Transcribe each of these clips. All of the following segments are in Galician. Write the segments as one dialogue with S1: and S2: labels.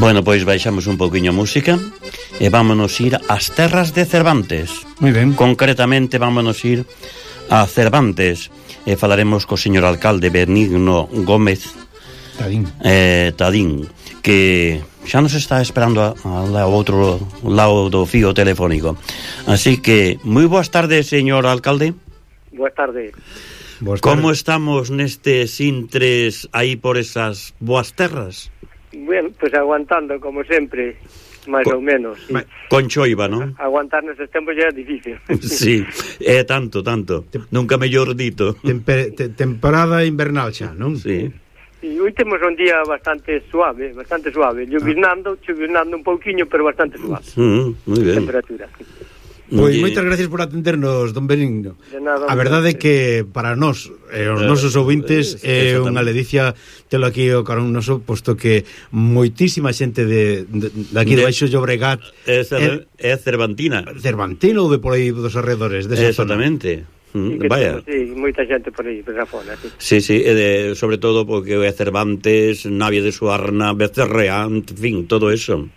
S1: Bueno, pois baixamos un pouquiño a música e vámonos ir ás terras de Cervantes.
S2: Moi ben.
S1: Concretamente vámonos ir a Cervantes e falaremos co señor alcalde Benigno Gómez Tadín, que xa nos está esperando ao outro lado do fío telefónico. Así que, moi boas tardes, señor alcalde.
S3: Boas tardes.
S1: Como estamos nestes intres aí por esas boas terras?
S3: Bueno, pues aguantando, como sempre, máis ou menos. Sí.
S1: Con choiva, non?
S3: Aguantar neses tempos xa é difícil.
S1: Sí, é tanto. Nunca mellor dito.
S2: Temporada invernal xa, non?
S1: Sí.
S3: E hoy temos un día bastante suave. Chuvirnando un pouquiño, pero bastante suave.
S1: Moi ben.
S3: Temperatura.
S2: Pois moitas gracias por atendernos, don Benigno. A verdade é que para nós e os nosos ouvintes é unha ledicia telo aquí o carón noso, posto que moitísima xente de aquí de Baixo Llobregat
S1: é cervantina
S2: ou de por aí dos arredores desa zona.
S1: Exactamente.
S3: Vaya. Sí, moita xente por aí, por esa zona,
S1: sí. Sí, sobre todo porque é Cervantes, Navia de Suarna, Becerrea, en fin, todo eso.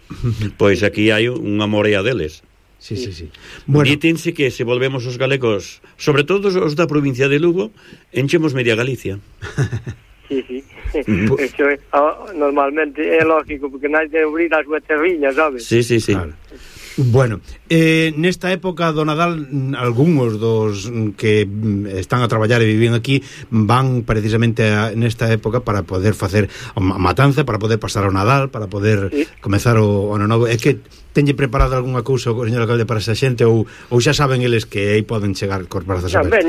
S1: Pois aquí hai unha morea deles.
S2: Sí. Bueno,
S1: dítense que se volvemos os galegos, sobre todo os da provincia de Lugo, enchemos media Galicia.
S3: Sí. Eso é, normalmente é lógico, porque non hai de abrir as súas terriñas, sabes?
S1: Sí.
S2: Claro. Bueno, nesta época do Nadal, algúns dos que están a traballar e viven aquí van precisamente nesta época para poder facer a matanza, para poder pasar o Nadal, para poder comezar o ano novo. É que tenlle preparado algunha cousa o señor alcalde para esa xente ou xa saben eles que aí poden chegar cos brazos abertos?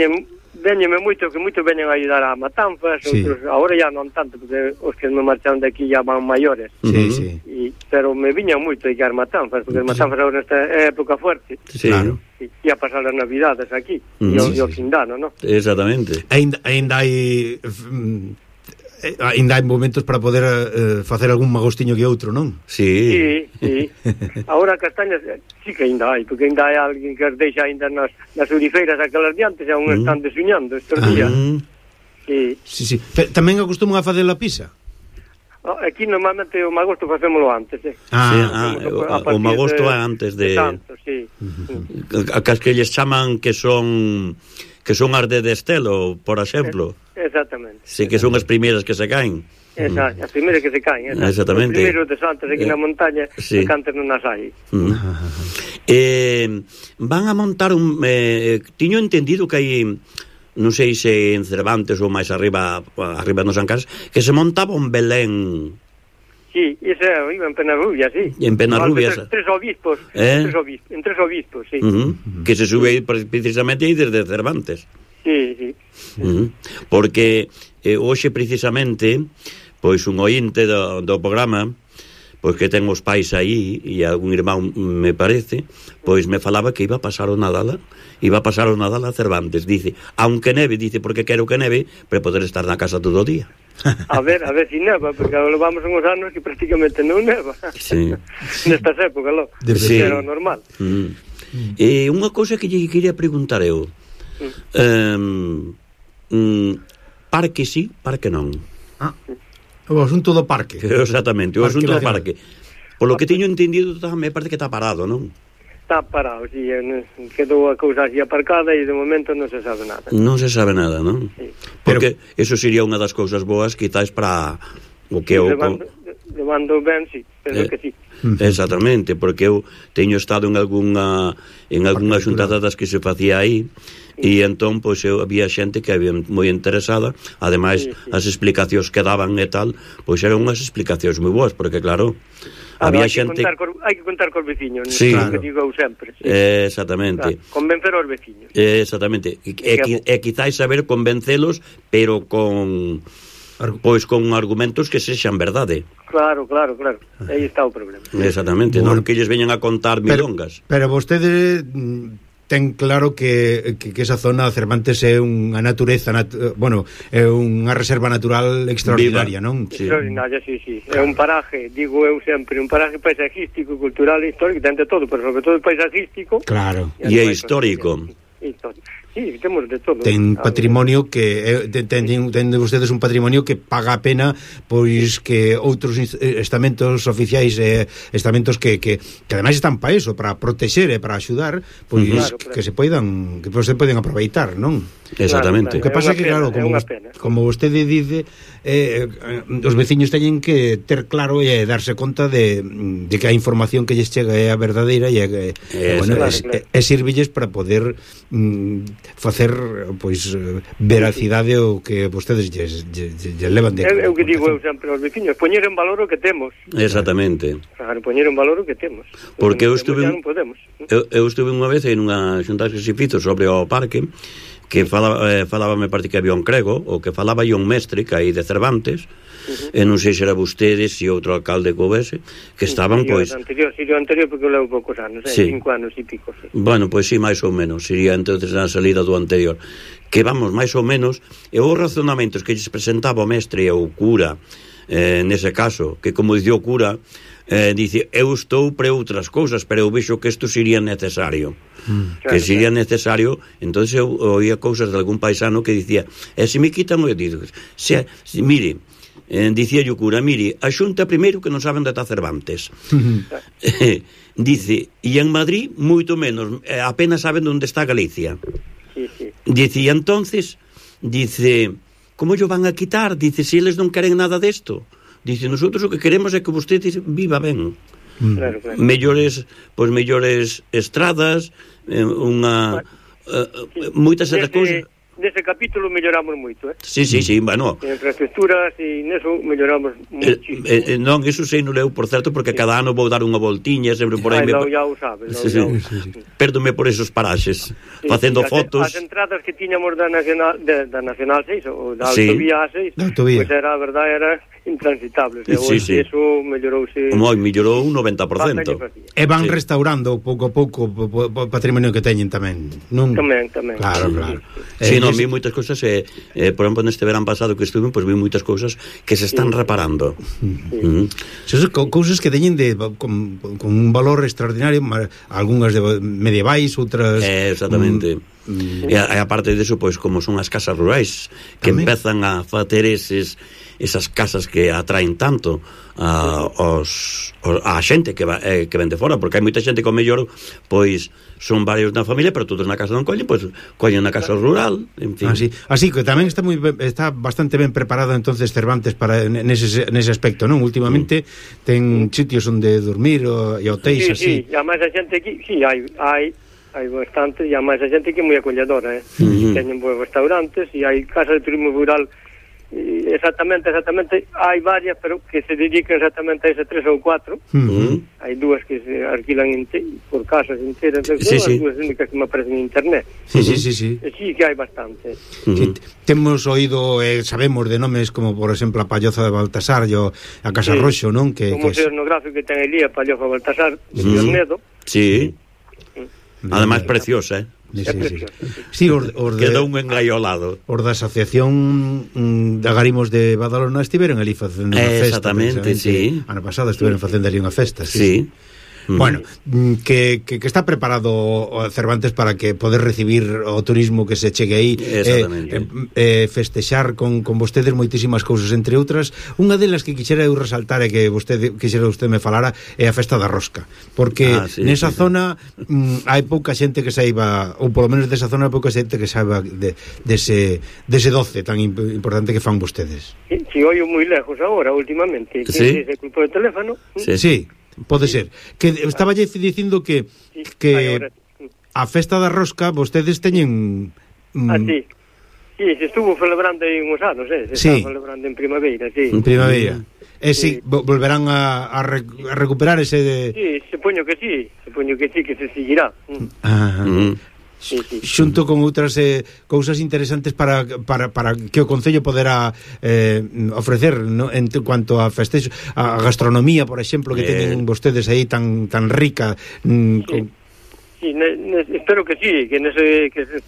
S3: Véñeme moito, que moito veñen a ayudar a matanzas, outros, agora ya non tanto, porque os que me marcharon de aquí ya van maiores.
S2: Sí.
S3: Pero me viñan moito a guiar matanzas, porque as matanzas agora nesta época fuerte.
S1: Sí.
S2: Claro.
S3: E a pasar as navidades aquí, e o fin de ano, non?
S1: Exactamente.
S2: Ainda hai momentos para poder facer algún magostiño que outro, non?
S3: Sí. Agora castañas sí que ainda hai, porque ainda hai alguén que as deixa ainda nas olifeiras aquelas diantes, aún están desuñando estes días.
S2: Sí. Tamén acostuman a facer a pizza?
S3: Aquí normalmente o magosto facémolo antes,
S1: o magosto é antes de
S3: tanto, sí.
S1: As que lles chaman que son as de Destelo, por exemplo.
S3: Exactamente.
S1: Sí, que son as primeiras que se caen.
S3: Exacto, as primeiras que se caen.
S1: Exactamente.
S3: Os primeiros de Santos aquí na montaña, que antes non as hai.
S1: Van a montar un... tiño entendido que hai, non sei se en Cervantes ou máis arriba no San Carlos, que se montaba un Belén.
S3: Sí, ese iba en Penarrubia, sí.
S1: En Penarrubia.
S3: Tres obispos, en tres obispos, sí.
S1: Que se sube precisamente aí desde Cervantes.
S3: Sí.
S1: Porque hoxe precisamente pois un ointe do programa, pois que ten os pais aí e algún irmán me parece, pois me falaba que iba a pasar o Nadal a Cervantes, dice, aunque neve, dice, porque quero que neve para poder estar na casa todo o día.
S3: A ver si neva, porque agora vamos uns anos que prácticamente non neva.
S1: Sí.
S3: Nestas épocas, lo.
S1: Sí.
S3: Era normal.
S1: E unha cousa que lle quería preguntar eu, parque sí, parque non.
S2: O asunto do parque.
S1: Exactamente, o asunto do parque. Por lo que teño entendido, me parece que está parado, non?
S3: Está parado, sí, quedou a cousa así aparcada e de momento non se sabe nada.
S1: Non se sabe nada, non?
S3: Sí.
S1: Porque eso sería unha das cousas boas, quizás para o que eu...
S3: Levando ben, sí, penso que sí.
S1: Exactamente, porque eu teño estado en algunha xuntada das que se facía aí, e entón, pois, había xente que había moi interesada, ademais, as explicacións que daban e tal, pois eran unhas explicacións moi boas, porque claro, había xente...
S3: Hai que contar cos veciños,
S1: sí,
S3: claro. Que digo eu sempre. Sí.
S1: Exactamente.
S3: Claro, convencer aos veciños.
S1: Exactamente. E quizáis saber convencelos, pero con argumentos que sexan verdade.
S3: Claro. Aí está o problema.
S1: Exactamente, non que lles veñan a contar milongas.
S2: Pero vostede ten claro que esa zona Cervantes é unha natureza, é unha reserva natural extraordinaria, non?
S3: Sí. Extraordinaria, sí. É un paraje, digo eu sempre, un paraje paisajístico, cultural e histórico, ten de todo, pero sobre todo paisajístico.
S2: Claro.
S1: E é histórico.
S3: Sí, temos de todo.
S2: Ten patrimonio que ten vostedes un patrimonio que paga a pena pois que outros estamentos oficiais estamentos que ademais están para eso, para protexer e para axudar, pois claro. Que se poidan aproveitar, non?
S1: Exactamente.
S2: O que pasa é que claro, como vostede dice, os veciños teñen que ter claro e darse conta de que a información que lles chega é a verdadeira e sirvilles para poder facer pois veracidade o que vostedes lle levan de
S3: eu que digo eu sempre aos veciños, poñer en valor o que temos.
S1: Exactamente.
S3: Claro, poñer en valor o que temos.
S1: Porque eu estuve unha vez en unha xunta que se fixo sobre o parque que falaba me parece que había un crego ou que falaba un mestre que aí de Cervantes e non sei se era vostedes e outro alcalde que houvese que estaban pois
S3: Sirio anterior porque eu levo poucos anos, 5 anos e pico
S1: Bueno, pois sí, máis ou menos sería entonces na salida do anterior que vamos, máis ou menos e os razonamentos que lles presentaba o mestre e o cura nese caso, que como dicía o cura dice, eu estou pre outras cousas pero eu vexo que isto sería necesario que sería necesario entonces eu oía cousas de algún paisano que dicía, se me quitan eu digo, mire dicía o cura, mire, a xunta primeiro que non saben de está Cervantes dice, e en Madrid moito menos, apenas saben onde está Galicia dice, e entonces dice, como yo van a quitar? Dice, se eles non queren nada desto dice, nosotros o que queremos é que vostede viva ben
S3: claro.
S1: mellores estradas moitas outras cousas.
S3: Nese capítulo melloramos moito,
S1: Sí, bueno.
S3: En infraestructuras e neso melloramos muchísimo.
S1: Non, iso sei non leu, por certo, porque cada ano vou dar unha voltiña, sempre por aí.
S3: Ya o sabes.
S1: Pérdome por esos paraxes, facendo fotos.
S3: As entradas que tiñamos da Nacional 6, ou da Autovía A6, pois era, a verdade, era intransitables. Eso mellorouse.
S1: Mellorou un 90%.
S2: E van restaurando pouco a pouco o patrimonio que teñen tamén, non?
S3: Tamén.
S2: Claro.
S1: Sí, non, vi moitas cousas por exemplo, neste verán pasado que estuve, pois vi moitas cousas que se están reparando.
S2: Son cousas que teñen con un valor extraordinario, algunhas medievais, outras
S1: exactamente. E aparte deso, pois como son as casas rurais que empezan a facer esas casas que atraen tanto a xente que ven de fora, porque hai moita xente que ao mellor pois son varios na familia, pero todos na casa non collen, pois collen na casa rural, en fin.
S2: Así que tamén está bastante ben preparado entonces Cervantes para nese aspecto, non? Últimamente ten sitios onde dormir e hotéis así.
S3: Sí, e máis a xente aquí, hai bastante, e máis a xente que é moi acolledora, teñen bons restaurantes e hai casas de turismo rural. Exactamente, hai varias, pero que se dedican exactamente a ese 3 ou 4. Hai dúas que se alquilan por casas enteras, as dúas únicas que me aparecen en internet.
S2: Sí.
S3: Sí que hai bastante.
S2: Temos oído, sabemos de nomes como, por exemplo, a Palloza de Baltasar e a Casa Roxo, non?
S3: O museo etnográfico que ten ali a Palloza de Baltasar de Ornedo.
S1: Sí. Además preciosa,
S2: Sí,
S1: quedou un engaiolado.
S2: Os da Asociación de Agarimos de Badalona estiveron ali facendo unha festa.
S1: Exactamente, sí.
S2: Ano pasado estiveron facendo ali unha festa.
S1: Sí.
S2: Bueno, que está preparado Cervantes para que poder recibir o turismo que se chegue aí, festexar con vostedes moitísimas cousas, entre outras, unha delas que quixera eu resaltar e que vostede me falara é a festa da rosca, porque nesa zona hai pouca xente que saiba, ou polo menos desa zona hai pouca xente que saiba dese doce tan importante que fan vostedes.
S3: Si oio moi lejos agora, últimamente, que se culpou o teléfono.
S2: Sí. Pode ser. Que estaba dicindo que a festa da rosca vostedes teñen
S3: sí, se estuvo celebrando aí uns anos, se estaba celebrando en primavera,
S2: En primavera. Si volverán a recuperar ese
S3: Sí, supoño que sí, que se seguirá.
S2: Xunto con outras cousas interesantes para que o Concello poderá ofrecer, ¿no? En cuanto a festexo, a gastronomía, por exemplo, que teñen vostedes aí tan rica.
S3: Espero que sí, que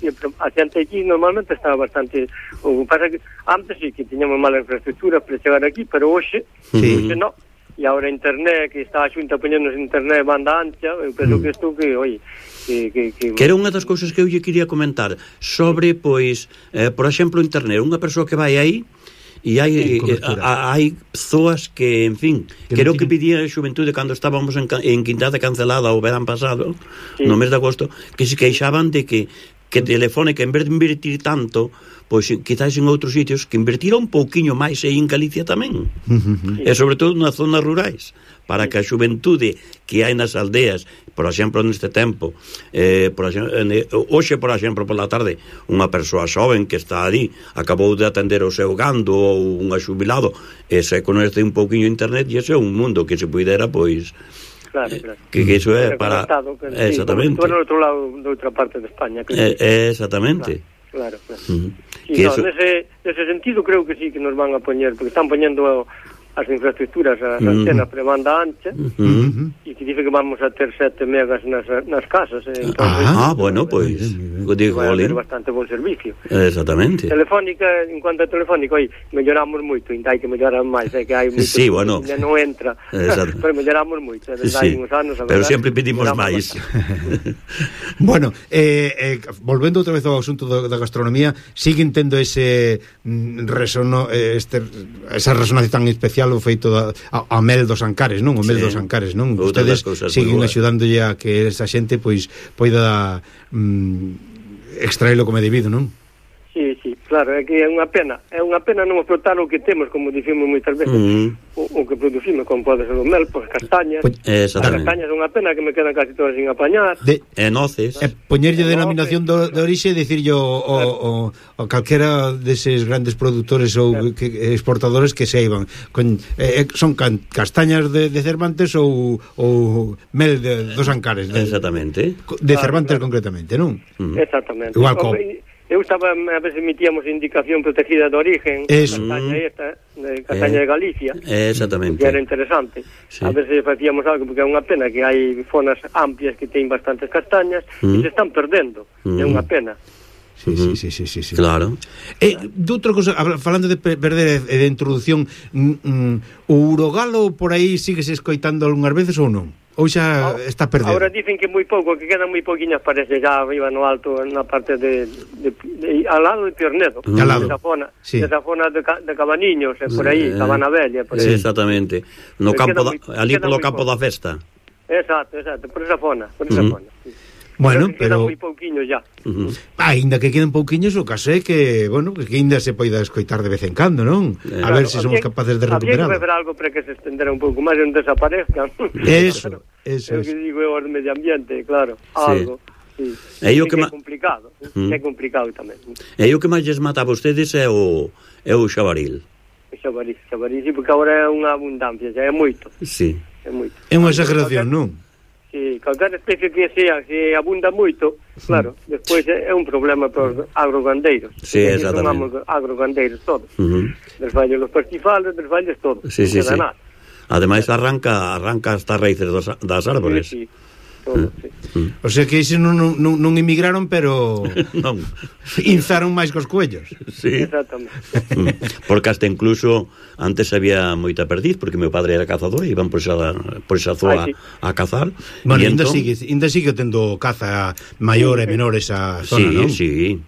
S3: siempre a xente aquí normalmente estaba bastante. O que pasa que antes sí que tiñamos mala infraestructura para chegar aquí, pero hoxe non. e agora internet, que está a Xunta poñendo internet banda ancha, eu penso que isto que, oi, que
S1: era unha das cousas que eu lle quería comentar sobre, pois, por exemplo, internet, unha persoa que vai aí e hai persoas que, en fin, que era o que pedía a xuventude cando estábamos en Quintada cancelada o verán pasado, no mes de agosto, que se queixaban de que Telefónica, en vez de invertir tanto, pois quizás en outros sitios, que invertira un pouquiño máis aí en Galicia tamén, e sobre todo nas zonas rurais, para que a xuventude que hai nas aldeas, por exemplo, neste tempo, hoxe, por exemplo, pola tarde, unha persoa xoven que está ali, acabou de atender o seu gando ou un xubilado, e se conoce un pouquiño internet, e ese é un mundo que se puidera, pois,
S3: claro.
S1: Que iso é para... Exactamente.
S3: Tú no outro lado, de outra parte de España.
S1: Exactamente.
S3: Claro. Nese sentido creo que sí que nos van a poñer, porque están poñendo as infraestructuras, as antenas para banda ancha, e que dice que vamos a ter 7 megas nas casas.
S1: Bueno, pois digo,
S3: vai haber bastante bon servicio.
S1: Exactamente.
S3: Telefónica, en cuanto a Telefónica, oi, melloramos moito, ainda hai que mellorar máis, que hai moito,
S1: sí, bueno,
S3: non entra, pero melloramos moito,
S1: sí, uns anos, pero sempre pedimos máis.
S2: Bueno, volvendo outra vez ao asunto da gastronomía, siguen tendo esa resonancia tan especial o feito a mel dos Ancares, non? O mel dos Ancares, non? Ustedes siguen axudándolle a que esa xente pois poida extraelo como debido, non?
S3: Sí, claro, é que é unha pena non explotar o que temos, como dicimos moitas veces, o que producimos, como pode ser o mel, pois castañas. As castañas é unha pena que me quedan casi todas sin apañar.
S1: Noces.
S2: Poñerlle denominación de orixe, dicirlle o calquera deses grandes productores ou exportadores que se iban. Son castañas de Cervantes ou mel dos Ancares.
S1: Exactamente.
S2: De Cervantes concretamente, non?
S3: Exactamente.
S2: Igual como...
S3: Eu estaba, a veces emitíamos indicación protegida de origen, castaña de Galicia,
S1: exactamente,
S3: que era interesante. Sí. A veces facíamos algo, porque é unha pena que hai zonas amplias que teñen bastantes castañas e se están perdendo, é unha pena.
S2: Sí.
S1: Claro.
S2: De outra cosa, falando de perder e de introducción, o urogalo por aí síguese escoitando algunhas veces ou non? Ou xa está perdido?
S3: Agora dicen que moi pouco, que quedan moi pouquiñas, parece, já arriba no alto, na parte al lado de Piornedo, desa zona de Cabaniños, por aí, Cabana Bella, por aí.
S1: Exactamente, no campo ali polo campo da festa.
S3: Exacto, por esa zona, sí.
S2: Bueno,
S3: pero quedan moi pouquiños já.
S2: Ainda que queden pouquiños, o caso é que, bueno, que ainda se poida escoitar de vez en cando, non? A ver se somos capaces de recuperarlo.
S3: Había que fazer algo para que se estendera un pouco máis e non desaparezcan.
S2: Eso.
S3: É o que digo eu ao medio ambiente, claro, algo. Sí. É complicado, é complicado tamén.
S1: E o que máis lles mata a vostedes é o xabaril.
S3: O xabaril, sí, porque agora é unha abundancia, xa é moito.
S1: Sí.
S3: É moito.
S2: É unha exageración, non?
S3: Sí, calquera especie que sea, se abunda moito, claro, despois é un problema para os agrogandeiros.
S1: Sí, exactamente.
S3: Chamamos agrogandeiros todos. Desfalles los pastifales, desfalles todo.
S1: Sí. Ademais arranca hasta raíces das árbores.
S3: Sí. Todo, sí.
S2: O sea que ese non emigraron, pero
S1: non
S2: inzaron máis cos cuellos.
S1: Sí.
S3: Exactamente.
S1: Porque hasta incluso antes había moita perdiz, porque meu padre era cazador e iban por esa zona a cazar.
S2: Bueno, ainda sigue tendo caza maior e menor esa zona, non?
S1: Sí.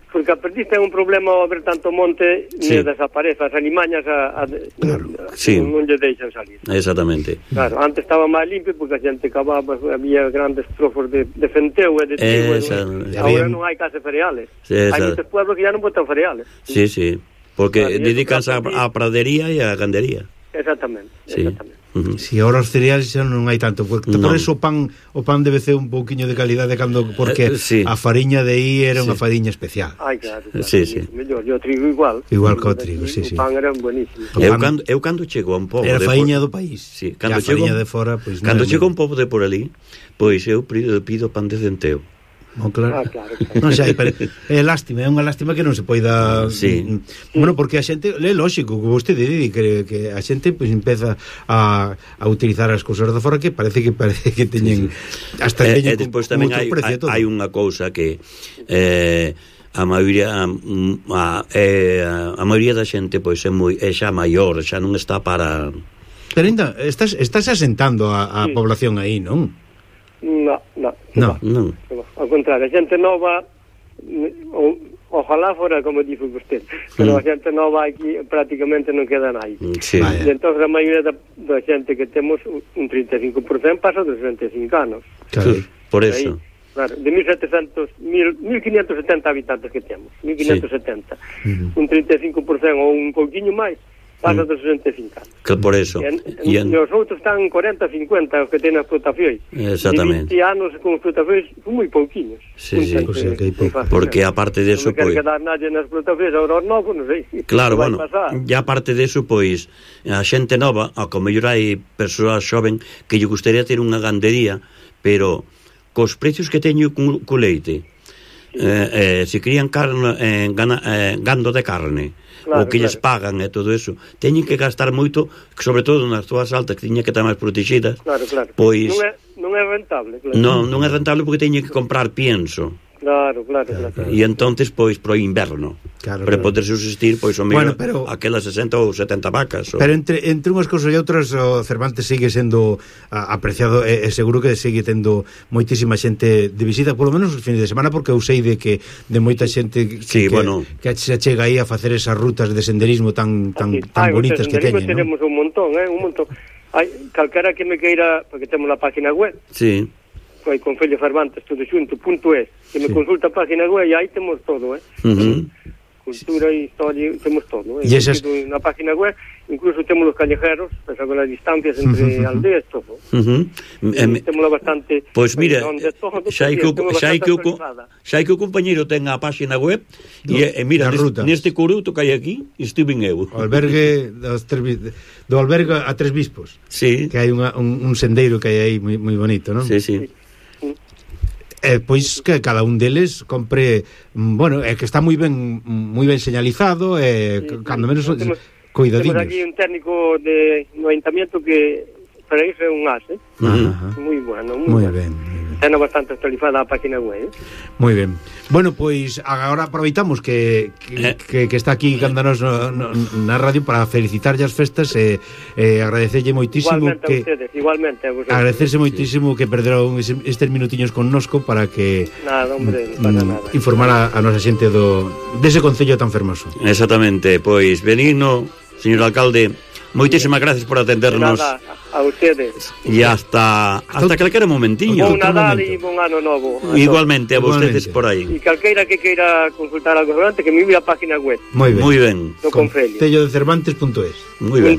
S3: Porque a perdiz ten un problema ao haber tanto monte, desaparece, as animañas non lle deixan salir.
S1: Exactamente.
S3: Claro, antes estaba máis limpio porque a xente cavaba, había grandes trofos de fenteu e de trigo, agora non hai case cereales. Hai moitos pueblos que ya non botan cereales.
S1: Sí, porque dedicanse á pradería e á gandería.
S3: Exactamente.
S2: Si ahora os cereales xa non hai tanto, porque por eso o pan debe ser un pouquiño de calidade porque a fariña de aí era unha fariña especial.
S3: Ai, claro.
S1: Sí.
S3: Mellor, o trigo igual.
S2: Igual que o trigo, sí.
S3: O pan era buenísimo.
S1: Eu cando chego a un pobo
S2: era fariña do país.
S1: Sí,
S2: cando chego de fora, pois
S1: cando chego a un pobo de por ali, pois eu pido pan de centeo.
S2: No, claro.
S3: Claro.
S2: Non sei, pero é unha lástima que non se poida. Bueno, porque a xente, é lógico, que vostede di que a xente pois empeza a utilizar as cousas de fora que parece que teñen hasta teñen
S1: despois tamén hai unha cousa que a maioría da xente pois é xa maior, xa non está para
S2: Pero ainda estás asentando a
S3: Sí.
S2: población aí, non?
S3: No.
S1: Non.
S3: Ao contrario, a xente nova, ojalá fora como dixo vostede, pero a xente nova aquí prácticamente non queda nai.
S1: Sí.
S2: Vaya.
S3: E entón a maioría da xente que temos, un 35% pasa dos 65 anos.
S2: Claro.
S1: Por
S3: Aí,
S1: eso.
S3: claro, de 1570 habitantes que temos, 1570. Un 35% ou un pouquiño máis pasa dos 65 anos.
S1: Que por eso.
S3: E os outros están 40, 50 os que teñen as explotacións.
S1: Exactamente.
S3: De 20 anos con explotacións son moi pouquiños.
S1: Sí, sí.
S2: O sea, que hai pouco.
S1: Porque aparte de eso,
S3: non quer
S1: pois...
S3: quedar nadie nas explotacións, agora os novos, non sei.
S1: Claro,
S3: que vai
S1: bueno,
S3: pasar.
S1: ya aparte de eso, pois, a xente nova, a como mellor hai persoas xoven que lle gustaría ter unha gandería, pero cos precios que teño co leite, se crían carne, gando de carne,
S3: Claro,
S1: o que lles pagan e todo eso, teñen que gastar moito, sobre todo nas zonas altas que tiñen que estar máis protegidas.
S3: Claro.
S1: Pois
S3: Non é rentable, claro.
S1: non é rentable porque teñen que comprar pienso.
S3: Claro.
S1: E entonces, pois, pro inverno,
S2: Claro,
S1: para
S2: claro.
S1: poder subsistir, pois, o
S2: Bueno,
S1: mellor,
S2: pero-
S1: aquelas 60 ou 70 vacas.
S2: Pero entre unhas cousas e outras, o Cervantes sigue sendo apreciado e seguro que sigue tendo moitísima xente de visita, polo menos os fines de semana, porque eu sei de que de moita xente
S1: Sí, bueno.
S2: que se chega aí a facer esas rutas de senderismo tan bonitas que teñen, non?
S3: Tenemos un montón. Hai calquera que me queira, porque temos a página web,
S1: Sí.
S3: hai Concello Cervantes, todo xunto.es, que me consulta a página web e aí temos todo, cultura e historia, temos todo.
S2: E esas...
S3: Na página web, incluso temos os callejeros, pensa con as distancias entre aldeas, todo. Temos bastante...
S1: Pois mira,
S3: todo,
S1: xa hai que o compañeiro ten a página web e mira, neste coruto que hai aquí estiven eu.
S2: O albergue do albergue a Tres Bispos.
S1: Sí.
S2: Que hai un sendeiro que hai aí moi bonito, non?
S1: Sí, sí.
S2: Pois que cada un deles compre, bueno, é que está moi ben señalizado e cando menos cuidadiños.
S3: Temos aquí un técnico no ayuntamiento que para iso é un as, moi bueno, moi
S2: ben.
S3: Ten bastante actualizada a página web.
S2: Moi ben. Bueno, pois agora aproveitamos que está aquí Cándanos na radio para felicitarlle as festas e agradecerlle moitísimo
S3: igualmente a vosotros.
S2: Agradecerse moitísimo que perderon estes minutiños connosco para que
S3: nada, hombre, para nada.
S2: Informar a nosa xente dese concello tan fermoso.
S1: Exactamente, pois benigno, señor alcalde, moitísimas gracias por atendernos.
S3: Nada, a ustedes.
S1: E hasta calquera momentiño.
S3: Bon Nadal e bon ano novo.
S1: Igualmente, a vostedes por aí.
S3: E calqueira que queira consultar algo relevante, que me mire a página web.
S2: Moi ben.
S3: Do Concello.
S2: Concellodecervantes.es.
S1: Moi ben.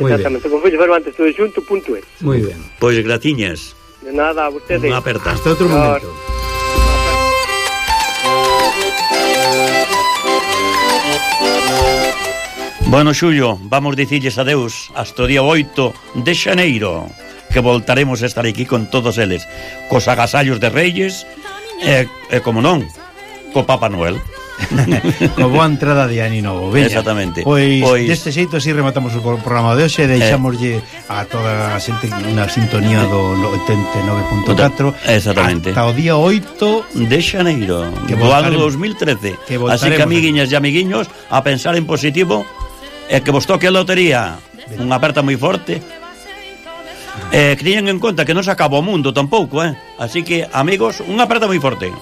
S3: Exactamente, Concello Cervantes todo xunto.es.
S2: Moi ben.
S1: Pois gratiñas.
S3: De nada, a ustedes.
S1: Unha aperta.
S2: Hasta outro momento.
S1: Bueno, Xulio, vamos dicirles adeus hasta o día 8 de xaneiro, que voltaremos a estar aquí con todos eles, cos agasallos de Reyes e como non, co Papa Noel.
S2: Co boa entrada de Ani Novo. Veña.
S1: Exactamente.
S2: Pois deste xeito así rematamos o programa de hoxe, deixámoslle a toda a xente na sintonía do 89.4.
S1: Exactamente.
S2: Hasta o día 8
S1: de xaneiro do ano 2013. Así que, amiguiñas e amiguiños, a pensar en positivo e que vos toque a lotería. Unha aperta moi forte. Que teñan en conta que non se acaba o mundo tampouco, Así que, amigos, unha aperta moi forte.